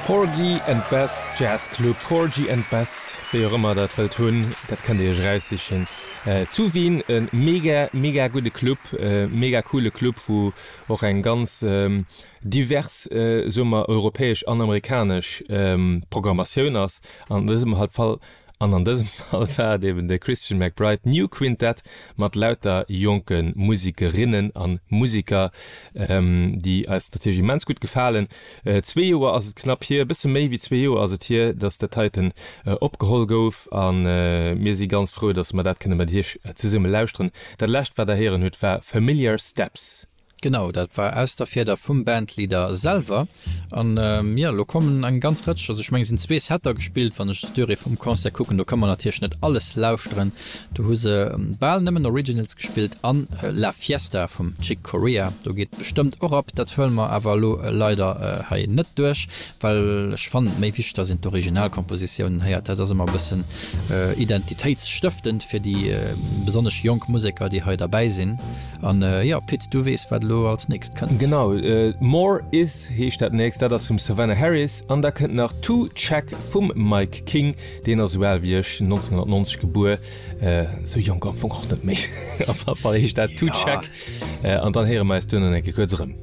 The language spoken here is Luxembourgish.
Porgy and Bess Jazz Club, Porgy and Bess, wéi och ëmmer der dat wëllt hunn, dat kënnt dir iech eraussichen. Zu Wien e mega, mega gudde Club, mega coole Club, wou och eng ganz divers, soe mer, europäesch an amerikanesch Programmatioun ass. An dësem Fall An an dësem Fall war et eben de Christian McBride New Quintett mat lauter jonke Musikerinnen a Musiker, déi eis natierlech immens gutt gefalen. Zwee Joer ass et knapp hier, e bësse méi wéi zwee Joer ass et hier, datt dat heiten opgeholl gouf a mir si ganz frou, datt mer dat kënne mat iech zesumme lauschteren. Dat lescht wat der héieren hutt war Familiar Steps. Genau, dat war aus der Fieder vum Bandleader selwer. An jo, elo kommen eng ganz Rëtsch, also ech mengen et sinn zwee Setter gespillt, wann ech d'Durée vum Concert kucken, do ka mer natierlech net alles lauschteren. Do hu se bal nëmmen Originals gespillt an La Fiesta vum Chick Corea, do geet bestëmmt och ab. Dat huele mer awer elo leider hei net duerch, well ech fannen et méi wichteg, dass een d'Originalkompositiounen héiert. Dat ass ëmmer e bëssen identitéitsstëftend fir déi besonnesch jonk Museker, déi hei derbäi sinn. An jo, Pit, du weess, wat elo als nächst kënnt. Genau, More Is heescht dat nächst, dat ass vum Savannah Harris. An da kënnt nach To Check vum Mike King, deen ass esou al wéi ech, 1990 gebuer, esou jonk am Fong och net méi. Op alle Fall heescht dat To Check. An dann héiere mer eis duerno eng Kéier kuerz erëm.